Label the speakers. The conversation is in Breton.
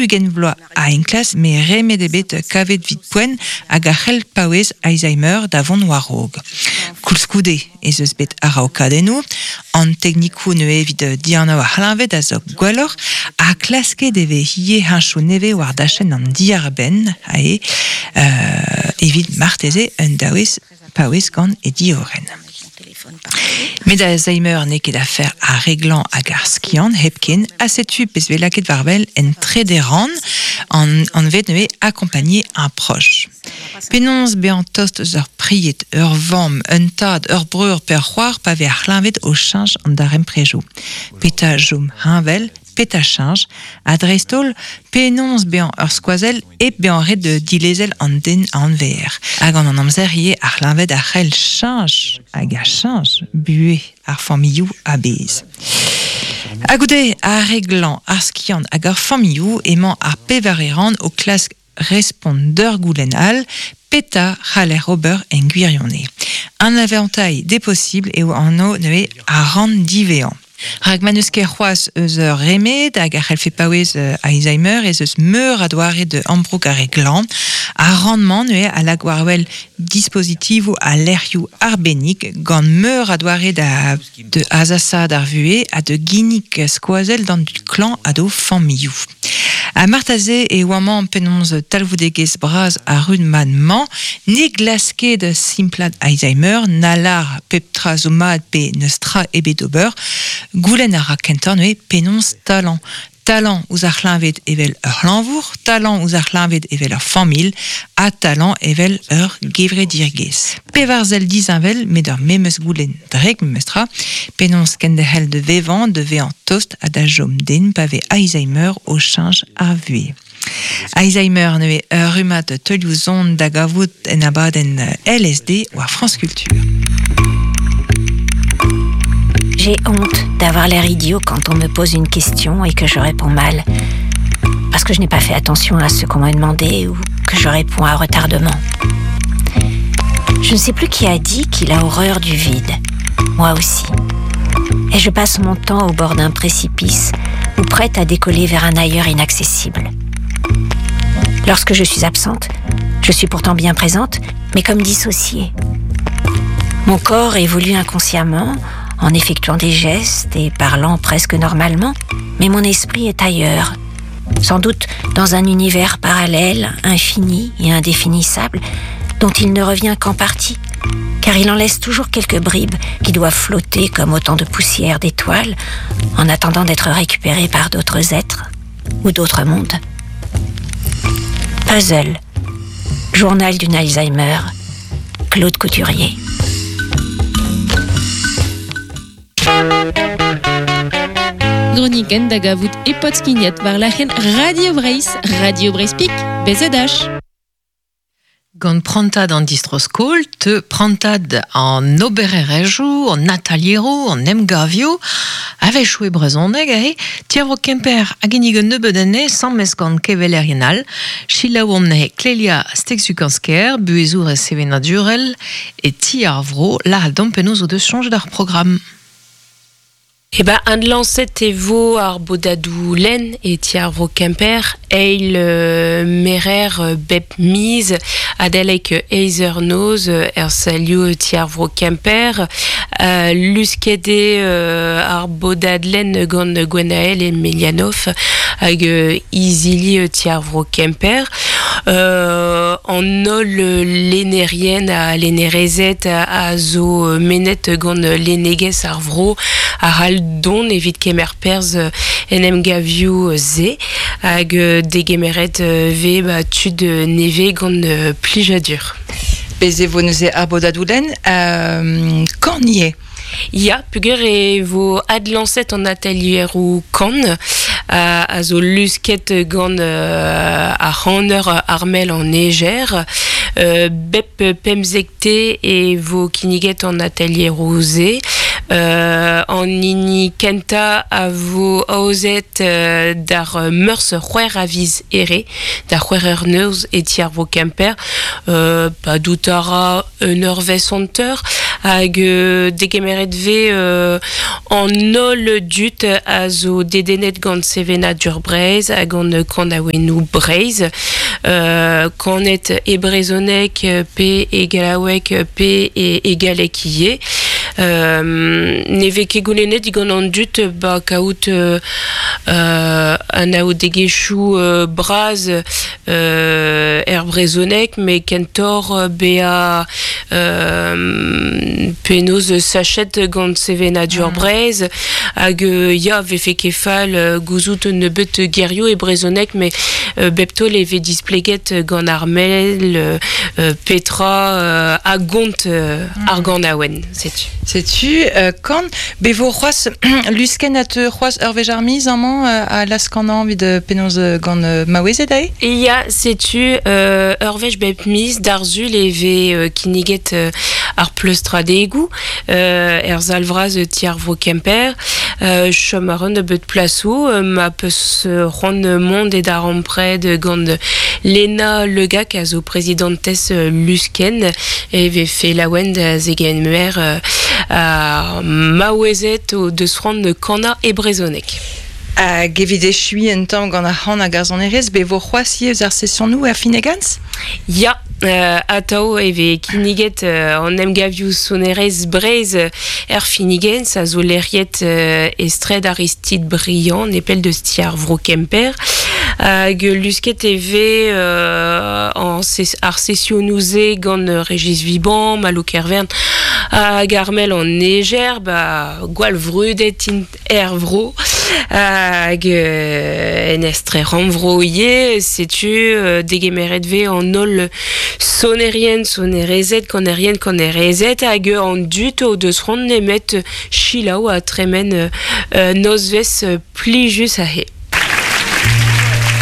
Speaker 1: 40 vloaz a enklask met remed ebet kavet 'vit poent hag a c'hell paouez Alzheimer da vont war-raok. Koulskoude ez eus bet araokadennoù, an teknikoù neuze evit dianav ar c'hleñved a zo gwelloc'h ha klasket e vez ivez heñchoù nevez war dachenn an diarbenn aze evit marteze un daouez paouez gant e diorren. Met Alzheimer n'eo ket afer ar reglañ hag ar skiant hepken ha setu pezh vez lakaet war-wel en trede rann an anvet neuze accompagner un proche. Penaos bezañ tost eus ur pried, ur vamm, un tad, ur breur pe ur c'hoar pa vez ar c'hleñved o cheñch an darempredoù? Petra chom heñvel, petra cheñch, ha dreist-holl penaos bezañ ur skoazell hep bezañ ret dilezel an den a anveer. Ha gant an amzer ivez ar c'hleñved a c'hell cheñch hag a cheñch buhez ar familhoù a-bezh. Ha goude ar re glañv, ar skiant hag ar familhoù emañ ar pevare rann o klask respont d'ur goulenn all, petra c'haller ober en gwirionez? Un avantailh deposibl eo anv neuze ar rann diwezhañ. Rak ma n'eus ket c'hoazh eus ur remed hag a c'hellfe paouez Alzheimer ez eus meur a doare da ambroug ar re glañv. Ar rann-mañ neuze a lak war-wel dispositivoù ha lec'hioù arbennik gant meur a doare da da azasaat ar vuhez ha da ginnig skoazell d'an dud klañv ha d'o familhoù. Ha marteze e oa amañ penaos talvoudegezh bras ar rummad-mañ ne glask ket simplaat Alzheimer na lâr pep tra zo mat pe n'eus tra ebet d'ober. Goulenn a ra kentoc'h neuze penaos talañ. Talañ ouzh ar c'hleñved evel ur c'hlañvour, talañ ouzh ar c'hleñved evel ur familh ha talañ evel ur gevredigezh. Pevar sell disheñvel met ur memes goulenn drek memestra, penaos kenderc'hel da vevañ, da vezañ tost ha da chom den pa vez Alzheimer o cheñch ar vuhez. Alzheimer neuze ur rummad teulioù son da gavout en abadenn LSD war France Culture.
Speaker 2: J'ai honte d'avoir l'air idiot quand on me pose une question et que je réponds mal. Parce que je n'ai pas fait attention à ce qu'on m'a demandé ou que je réponds à retardement. Je ne sais plus qui a dit qu'il a horreur du vide. Moi aussi. Et je passe mon temps au bord d'un précipice ou prête à décoller vers un ailleurs inaccessible. Lorsque je suis absente, je suis pourtant bien présente, mais comme dissociée. Mon corps évolue inconsciemment en effectuant des gestes et parlant presque normalement, mais mon esprit est ailleurs, sans doute dans un univers parallèle, infini et indéfinissable, dont il ne revient qu'en partie, car il en laisse toujours quelques bribes qui doivent flotter comme autant de poussière d'étoiles en attendant d'être récupérées par d'autres êtres ou d'autres mondes. Puzzle, journal d'une Alzheimer, Claude Couturier.
Speaker 3: Gronikenn da gavout e Podskignat war lac'henn Radio Breizh, Radio Breizh Pik, BZH.
Speaker 4: Gant prantad an distro-skol teu prantad an obererezhioù, an atalieroù, an emgavioù, a-wechoù e brezhoneg aze, Tier Kemper a ginnig un nebeud anezhe sames gant kevelerien all. Selaouomp neuze Clélia Stegzukansker, buhezourez sevenadurel e Ti ar Vro, lâret deomp penaos o deus soñjet ar programm.
Speaker 5: Eh ben, adlañset e vo ar bodadoù lenn e ti ar vro Kemper eil merer bep miz adalek eizh eur noz er salioù ti ar vro Kemper. Lusket eo ar bodad lenn gant Gwenael Emelianoff hag izili ti ar vro Kemper. An holl lennerien ha lennerezed a zo mennet gant lennegezh ar vro a c'hall dont evit kemer perzh en emgavioù-se hag degemeret vez ba tud nevez gant plijadur.
Speaker 1: Bez' e vo neuze ar bodadoù-lenn kan ivez.
Speaker 5: Ya, peogwir e vo adlañset an atelieroù kan a zo lusket gant ar c'haner Armel an Eger. Bep pemzekte e vo kinniget an atelieroù-se. An hini kentañ a vo aozet d'ar Meurzh c'hwec'h a viz Here, da c'hwec'h eur noz e ti ar vro Kemper. Padout a ra un eurvezh hanter. Hag degemeret ve an holl dut a zo dedennet gant sevenadur Breizh hag gant kanaouennoù Breizh. Kanet e brezhoneg pe e gallaoueg pe e galleg ivez. Ne vez ket goulennet digant an dud ba kaout anaoudegezhioù bras er brezhoneg met kentoc'h bezañ penaos sachet gant sevenadur Breizh hag ya vefe ket fall gouzout un nebeut gerioù e brezhoneg met bep taol e vez displeget gant ar mel petra a gont ar ganaouenn setu.
Speaker 1: Setu kan be vo c'hoazh luskenn a teu c'hoazh ur wech ar miz amañ a laskanañ evit penaos gant maouezed aze?
Speaker 5: Ya, setu ur wech bep miz d'ar sul e vez kinniget ar pleustradegoù er sal vras ti ar vro Kemper. Chom a ran nebeut plasoù ma peus c'hoant mont e darempred gant Lena Legac a zo prezidantez Luskenn e vefe laouen da zegemer ar maouezed o deus c'hoant kanañ e brezhoneg.
Speaker 1: Hag evit echuiñ un tamm gant ar c'han hag ar sonerezh, bet vo c'hoazh ivez ar sesionoù er Finegans?
Speaker 5: Ya, atav e vez kinniget an emgavioù sonerezh Breizh er Finegans a zo lec'hiet e straed Aristide Briand, nepell deus ti ar vro Kemper. Hag lusket e vez ar sesionoù-se gant Régis Viban, Malo Kervern hag Armel an Eger, ba gwall vrudet int er vro hag en estre rannvro ivez setu degemeret vez an holl sonerien sonerezed kanerien kanerezed hag an dud o deus c'hoant nemet selaou ha tremen nozvezh plijus aze.